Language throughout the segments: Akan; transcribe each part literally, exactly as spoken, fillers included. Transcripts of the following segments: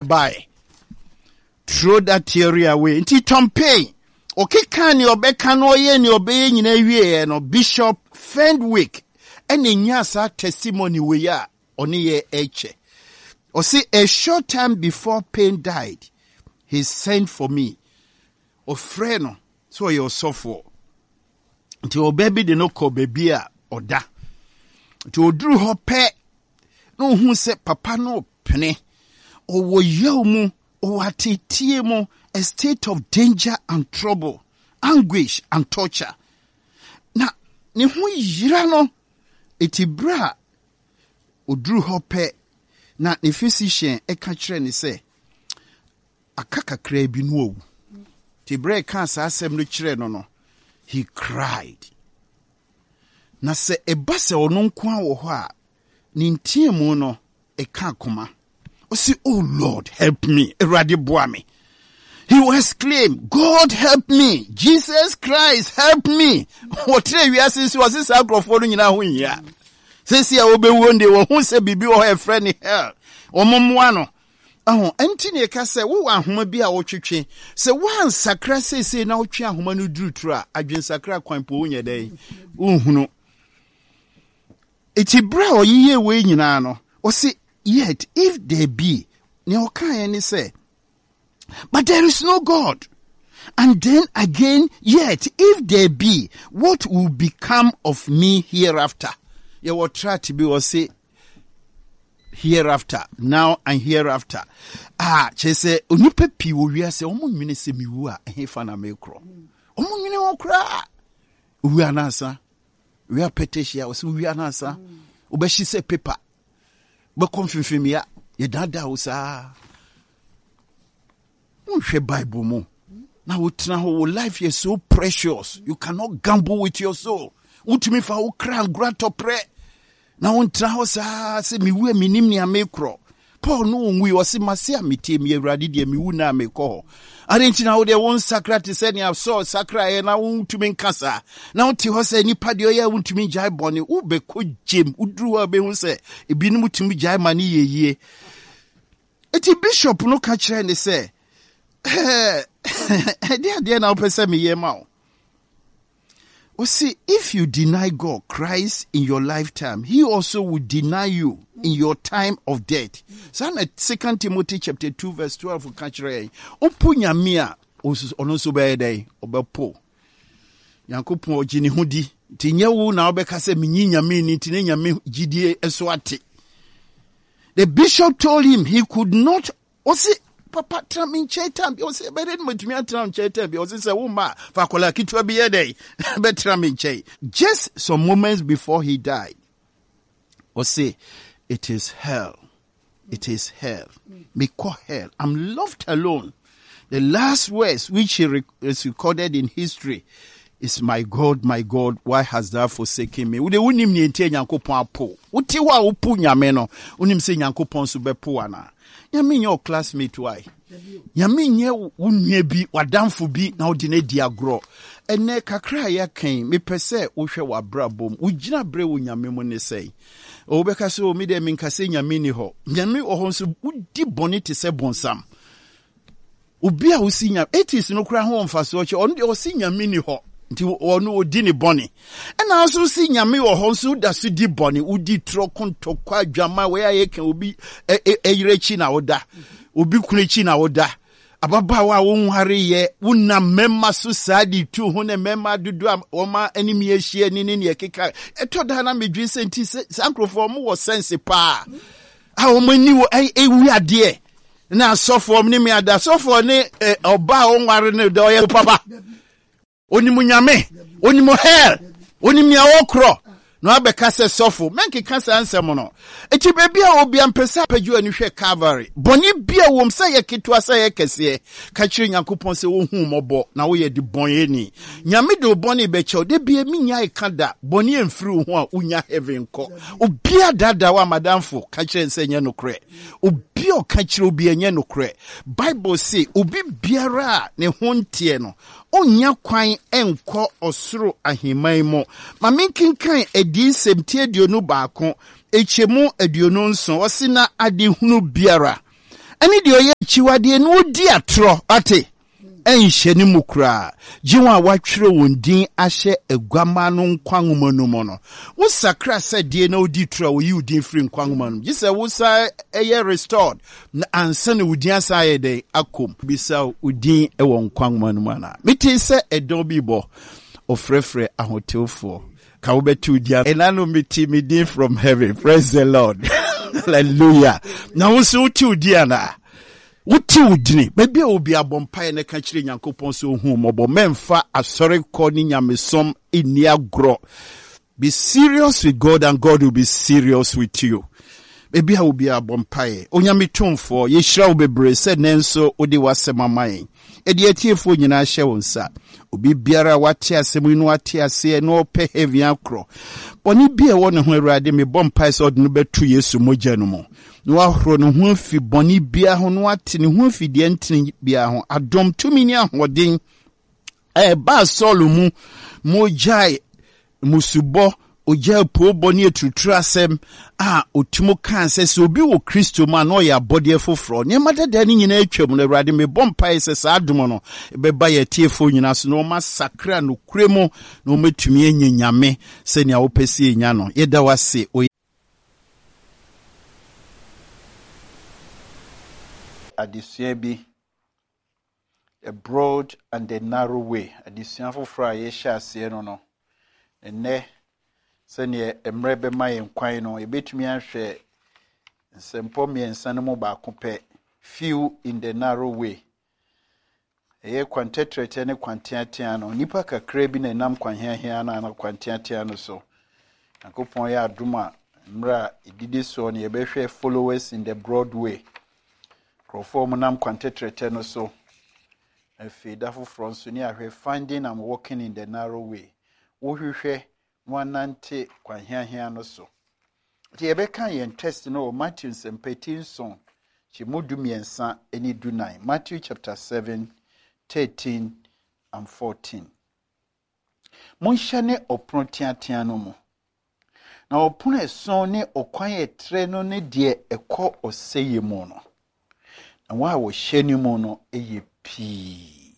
Bae. Throw that theory away. Nti Tom Paine, ɔkeka nea ɔbɛka no, ɔyɛ nea ɔbɛyɛ nyinaa wieɛ no, Bishop Fenwick ɛna nya saa testimony wei a ɔne yɛ ɛkyɛ. Ɔse, "A short time before Paine died, he sent for me." Ɔfrɛ no sɛ ɔyɛ ɔsɔfoɔ. Nti ɔbaa bi de no kɔ baabi a ɔda. Nti ɔduru hɔ pɛ na ohun sɛ papa no pene. Ɔwɔ yaw mu, ɔwɔ ateetie mu, a state of danger and trouble, anguish and torture. Na ne ho yira no, eti bere a oduru hɔ pɛ na ne physician ɛka kyerɛ ne sɛ aka kakra bi no awu. Nti bere a ɛka saa asɛm no kyerɛ no no, he cried. Na sɛ ɛba sɛ ɔno nko a wɔ hɔ a, ne nteamu no ɛka akoma. Ɔsi, "Oh Lord, help me. Awurade boa me." He will exclaim, "God help me. Jesus Christ help me." Wɔtena wiase nso, ɔsi saa nkurɔfoɔ no nyinaa ho nhia. Sɛsi a wɔbɛwuo deɛ, wɔho sɛ biribi wɔ hɔ a ɛfrɛ ne hell. Wɔn mmoa no. Ɛho ɛnti ne ɛka sɛ wowɔ ahoma bi a wotwetwe. Sɛ woansakra seesei na wotwe ahoma no duruturu a, adwensakra kwan po wonyɛ dɛn? Wonhunu. Eti bere a ɔyeyɛ wei nyinaa no, ɔsi, "Yet if there be," nea ɔkaeɛ ne sɛ, "But there is no God. And then again, yet if there be, what will become of me hereafter?" Yɛwɔ tract bi wɔ se "Hereafter Now and Hereafter" a kyerɛ sɛ onipa pii wɔ wiase, wɔn nwene sɛ mewu a, ɛhefa na mekorɔ? Wɔn nwene ho koraa. Owu anansa wia pɛtɛhyia, wɔsɛ owu anansa wobɛhye sɛ paper, bɛkɔ mfimfimia, yɛdaadaa wo saa. Wonhwɛ Bible mu na wotena hɔ. Wo life yɛ so precious, you cannot gamble with your soul. Wotumi fa wo kra ngora tɔprɛ na wontena hɔ saa sɛ mewu a, menim nea mekorɔ. Paul no ɔnwui, ɔse, "Mase a metie me Awurade deɛ, mewu na mekɔ hɔ." Ade nti na wodeɛ wo nsakra te sɛ nea Saul sakraeɛ na wontumi nka saa na wote hɔ sɛ nipa deɛ ɔyɛ a wontumi gyae bɔne, wobɛkɔ gyem. Woduru hɔ a, wobɛhu sɛ ebinom tumi gyae ma ne yɛ yie. Eti bishop no ka kyerɛ ne sɛ, "Ɛde adeɛ na wopɛ sɛ meyɛ ma wo?" Ɔsi, "If you deny God, Christ, in your lifetime, he also will deny you in your time of death." Saa na Second Timothy chapter two verse twelve ka kyerɛ yɛn. Wopo Nyame a, ɔno nso bɛyɛ dɛn? Ɔbɛpo. Nyankopɔn ɔgye ne ho di. Nti nyɛ wo na wobɛka sɛ menyi Nyame ni nti ne Nyame gyidie so ate. The bishop told him he could not, ɔsi, "Papa, tena me nkyɛn time bi." Ɔsi, "Ɛbɛyɛ dɛ matumi atena nkyɛn time bi?" Ɔsi, "Sɛ wo ma fa akwadaa ketewa bi yɛ dɛ bɛtena me nkyɛn." Just some moments before he died, ɔsi, "It is hell, it is hell. Mekɔ hell. I'm left alone." The last words which he rec- is recorded in history is, "My God, my God, why hast thou forsaken me?" Wode wonim nea nti a Nyankopɔn apo. Wote hɔ a wopo Nyame no, wonim sɛ Nyankopɔn nso bɛpo anaa? Nyame nyɛ wo classmate why? Nyame nyɛ wo nua bi, w'adamfo bi na wode no adi agorɔ. Ɛnɛ kakra a yɛaka yi, mepɛ sɛ wohwɛ w'abrabɔ mu. Wogyina berɛ wɔ Nyame mu ne sɛn? Wobɛka sɛ, "O, me deɛ menka sɛ Nyame ni hɔ." Nyame wɔ hɔ nso wodi bɔne te sɛ bonsam. Obi a wosi Nyame, atheist no koraa ho wɔ mfasoɔ kyɛ ɔno deɛ ɔsi Nyame ni hɔ nti ɔno ɔdi ne bɔne. Ɛna nso si Nyame wɔ hɔ nso woda so di bɔne, wodi torɔ, kontɔkwa, adwama wei a yɛka, obi ɛyere akyi na woda, obi kunu akyi na woda, ababaawa a wonwareyɛ wonam mmarima so saa de tu ho ne mmarima dodo a wɔma anim ahyia ni ne neɛ keka. Ɛtɔ da na medwene sɛ nti saa nkurɔfoɔ wɔn wɔ sense paa a wɔn ani wɔ ɛwi adeɛ na asɔfoɔ ne me ada asɔfoɔ ne ɔbaa a ɔnware no da ɔyɛ papa. Onim Nyame, onim hell, onim nea wɔkorɔ na wabɛka sɛ sɔfo mɛnkeka saa nsɛm no. Eti baabi a obi ampɛ sɛ apagye ani hwɛ Calvary, bɔne bi a wɔm sɛ yɛ ketewa sɛ yɛ kɛseɛ, ka kyerɛ Nyankopɔn sɛ wohu mmɔbɔ na woyɛ de bɔnyɛni. Nyame de wo bɔne bɛkyɛw. Da bia menya ɛka da bɔne amfiri wo ho a, wonya heaven kɔ. Obia daadaa wo amadamfo, ka kyerɛ sɛ nyɛ nokorɛ. Obi a ɔka kyerɛ obi, ɛnyɛ nokorɛ. Bible se obi biara a ne ho nteɛ no, ɔnnya kwan nkɔ ɔsoro ahemman mu. Ma menkenkan Adiyisɛm ti aduonu baako ɛkyɛmu aduonu nson. Ɔse, "Na adehunu biara ɛne deɛ ɔyɛ Akyiwadeɛ na ɔdi atorɔ, ate, ɛnhyɛ ne mu koraa, gye wɔn a wɔatwerɛ wɔn din ahyɛ Aguammaa no nkwa nwoma no mu no. Wosakra sɛ deɛ na wodi torɔ a, wɔyi wo din firi nkwa nwoma no mu, gye sɛ wosan yɛ restored na ansa na wo din asan ayɛ dɛn akɔ mu. Bisa wo din wɔ nkwa nwoma no mu anaa? Metee sɛ ɛdɔn bi rebɔ, ɔfrɛfrɛ ahotewfoɔ. Ka wobɛte wo din. Ɛna no mete me din from heaven. Praise the Lord. Hallelujah. Na wo nso wote wo din anaa? Wote wo dini. Baabi a obi abɔ mpaeɛ na ka kyerɛ Nyankopɔn sɛ ohu mmɔbɔ. Mɛmfa asɔre kɔ ne nyamesom nni agorɔ. Be serious with God and God will be serious with you. Baabi a obi abɔ mpaeɛ. Onyame tumfoɔ, yɛhyira wo bebree sɛ nnɛ nso wode w'asɛm ama yɛn. Ɛde atiefoɔ nyinaa hyɛ wo nsa. Obi biara a wate asɛm yi na wate aseɛ na ɔpɛ heaven akorɔ. Bɔne bi a ɛwɔ ne ho, Awurade, mebɔ mpaeɛ sɛ ɔde no bɛto Yesu mogya no mu. Na wahoro ne ho afi bɔne biara ho na wate ne ho afi deɛ ntene biara ho. Adom, tumi ne ahoɔden a ɛbaa Saul mu ma ogyae mmusubɔ, ogyae poobɔ ne aturuturu asɛm a otumi kaa sɛ sɛ obi wɔ Kristo mu a na ɔyɛ abɔdeɛ foforɔ. Nneɛma dada no nyinaa atwam no, Awurade, mebɔ mpaeɛ sɛ saa adom no ɛbɛba yɛn atiefoɔ nyinaa so na wɔn asakra nokorɛ mu na wɔatumi anya Nyame sɛnea wopɛ sɛ yɛnya no. Yɛda wo ase wɔ Adesua bi, The Broad and the Narrow Way, adesua foforɔ a yɛhyɛ aseɛ no no. Ɛnnɛ, sɛdeɛ mmerɛ bɛma yɛn kwan no, yɛbɛtumi ahwɛ nsɛmpɔ mmiɛnsa no mu baako pɛ, Few in the Narrow Way. Ɛyɛ kwan tɛtrɛtɛ ne kwan teatea no, nnipa kakra bi na ɛnam kwan heahea no anaa kwan teatea no so. Nyankopɔn yɛ adom a, mmerɛ a ɛdidi soɔ no, yɛbɛhwɛ Followers in the Broad Way. Nkurɔfoɔ a wɔnam kwan tɛtrɛtɛ no so. Afei da foforɔ nso ne ahwɛ Finding and Walking in the Narrow Way. Wohwehwɛ na wanante kwan heahea no so. Nti yɛbɛka yɛn text no wɔ Matthew nsɛmpa ti nson, kyɛmu du mmiɛnsa ne du nan. Matthew chapter seven, thirteen and fourteen. Monhyɛne ɔpono teatea no mu. Na ɔpono ɛson ne ɔkwan ɛtrɛ no ne deɛ ɛkɔ ɔsɛeɛ mu no. Na wɔn a wɔhyɛ ne mu no yɛ pii.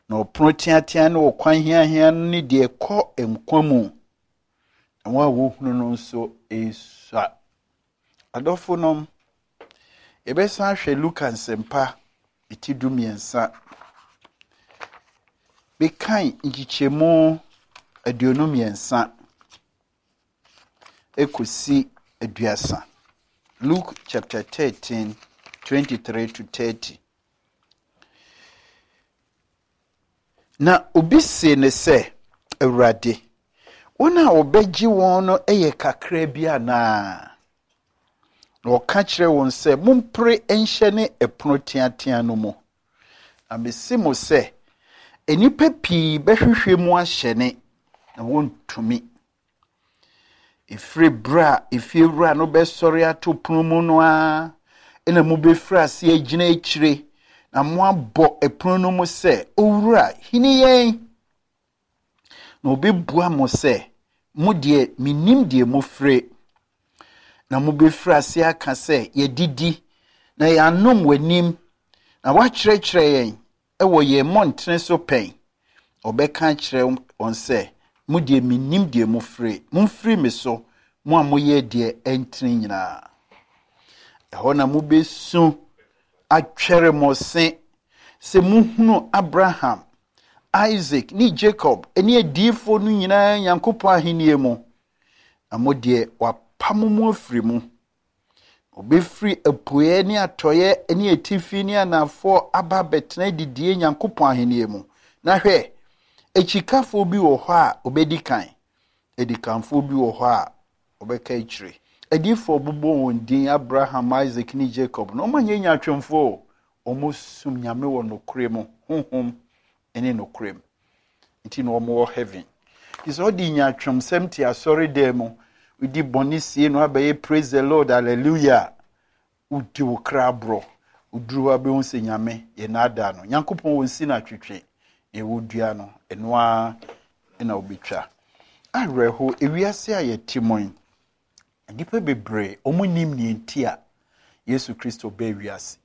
Na ɔpono teatea ne ɔkwan heahea no ne deɛ ɛkɔ nkwa mu. Na wɔn a wɔhunu no nso esua. Adɔfo nom, yɛbɛsan ahwɛ Luka nsɛmpa eti du mmiɛnsa. Mekan nkyekyɛmu aduonu mmiɛnsa ekosi aduasa. Luke chapter thirteen, twenty-three to thirty. Na obi se ne sɛ, Awurade, wɔn a wɔbɛgye wɔn no yɛ kakra bi anaa? Na ɔka kyerɛ wɔn sɛ, mompere nhyɛne ɛpono teatea no mu. Na mese mo sɛ, nnipa pii bɛhwehwɛ mu ahyɛne, na wɔntumi. Ɛfiri berɛ a efiewura no bɛsɔre ato pono mu no ara, ɛna mobɛfiri ase agyina akyire, na moabɔ ɛpono no mu sɛ, Owura, hini yɛn. Na obɛbua mo sɛ, mo deɛ, mennim deɛ mofire. Na mobɛfiri ase aka sɛ, yɛdidi, na yɛanom w'anim, na woakyerɛkyerɛ yɛn ɛwɔ yɛn mmɔntene so pɛn. Ɔbɛka akyerɛ wɔn sɛ, mo deɛ mennim deɛ mofire. Momfiri me so, mo a moyɛ deɛ ɛntene nyinaa. Ɛhɔ na mobɛsu atwɛre mo se sɛ mohunu Abraham, Isaac ne Jacob ne adiyifoɔ no nyinaa Nyankopɔn ahennie mu. Na mo deɛ wapam mo afiri mu. Obɛfiri apueɛ ne atɔeɛ ne atifi ne anafoɔ aba abɛtena adidie Nyankopɔn ahennie mu. Na hwɛ, akyikafoɔ bi wɔ hɔ a obɛdi kan, adikanfoɔ bi wɔ hɔ a ɔbɛka akyire. Adiyifoɔ bobɔ wɔn din Abraham, Isaac ne Jacob na wɔn anyɛ nyaatwomfoɔ o. Wɔn som Nyame wɔ nokorɛ mu, honhom ne nokorɛ mu. Nti na wɔn wɔ heaven. Nti sɛ ɔde nyaatwomsɛm te asɔredan mu, wodi bɔne sie no abɛyɛ praise the Lord, hallelujah. Wodi wo kra aborɔ. Woduru hɔ abɛhu sɛ Nyame yɛ n'adaa no. Nyankopɔn wɔ nsi no atwetwe. Deɛ wodua no, ɛno ara na wobɛtwa. Awerɛho, ewiase a yɛte mu yi, nnipa bebree, wɔn nnim nea nti a Yesu Kristo baa wiase.